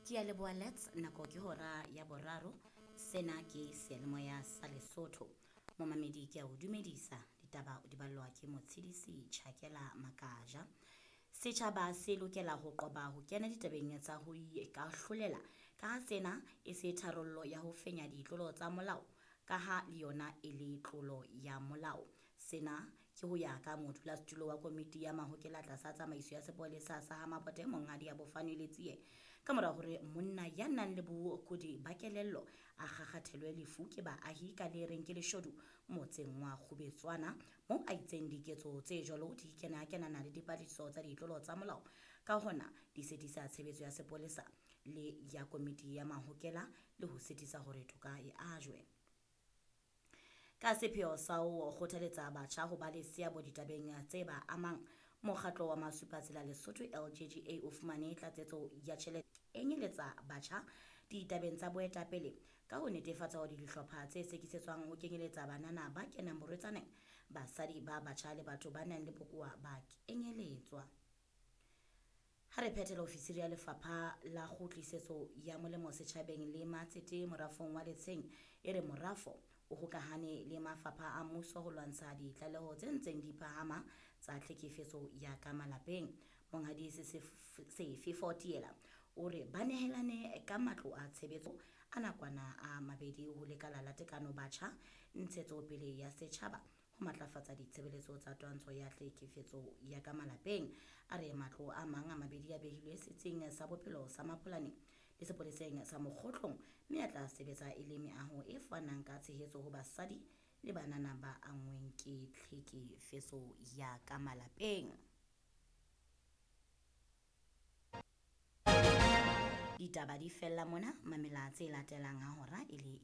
Ke a leboha Lets, nako ke hora ya boraro. Sena ke seyalemoya sa Lesotho. Momamedi ke a o dumedisa, ditaba o di ballwa ke Motshedisi Chakela Makaja. Setjhaba se lokela ho qoba ho kena ditabeng tsa ho ikahlolela ka ha sena e se tharollo ya ho fenya ditlolo tsa molao ka ha le yona e le tlolo ya molao. Sena ke ho ya ka modulasetulo wa komiti ya mahokela tlasa tsamaiso ya sepolesa sa ha Mabote Monghadi Abofane Letsie ka mora hore monna ya nang le bokudi ba kelello a kgakgathelwe lefu ke baahi ka le reng ke leshodu motseng wa Kgubetswana moo a itseng diketso tse jwalo di kena kenana le dipatlisiso tsa ditlolo tsa molao ka hona di sitisa tshebetso ya sepolesa le ya komiti ya mahokela le ho sitisa hore toka e ajwe. Ka sepheo sa ho kgothaletsa batjha ho ba le seabo ditabeng tse ba amang, mokgatlo wa Masupatsela Lesotho LGGA o fumane tlatsetso ya tjhelete e nyeletsa batjha ditabeng tsa boetapele ka ho netefatsa hore dihlopha tse sekisetswang ho kenyeletsa banana ba kenang borwetsaneng, basadi ba batjha le batho ba nang le bokowa ba kenyeletswa. Ha re phethela ofisiri ya lefapha la kgutlisetso ya molemo setjhabeng le matsete morafong wa Letsheng e re morafo o hokahane le mafapha a mmuso ho lwantsha ditlaleho tse ntseng di phahama tsa tlhekefetso ya ka malapeng. Monghadi Sefefo Tiela o re ba nehelane ka matlo a tshebetso a nakwana a mabedi ho lekala la tekano batjha ntshetsopele ya setjhaba ho matlafatsa ditshebeletso tsa twantsho ya tlhekefetso ya ka malapeng. A re matlo a mang a mabedi a behilwe setsing sa bophelo sa Mapolane le sepoleseng sa Mokgotlong mme a tla sebetsa e le meaho e fanang ka tshehetso ho basadi le banana ba anngweng ke tlhekefetso ya ka malapeng. Ditaba di fella mona, mamela tse latelang ha hora e le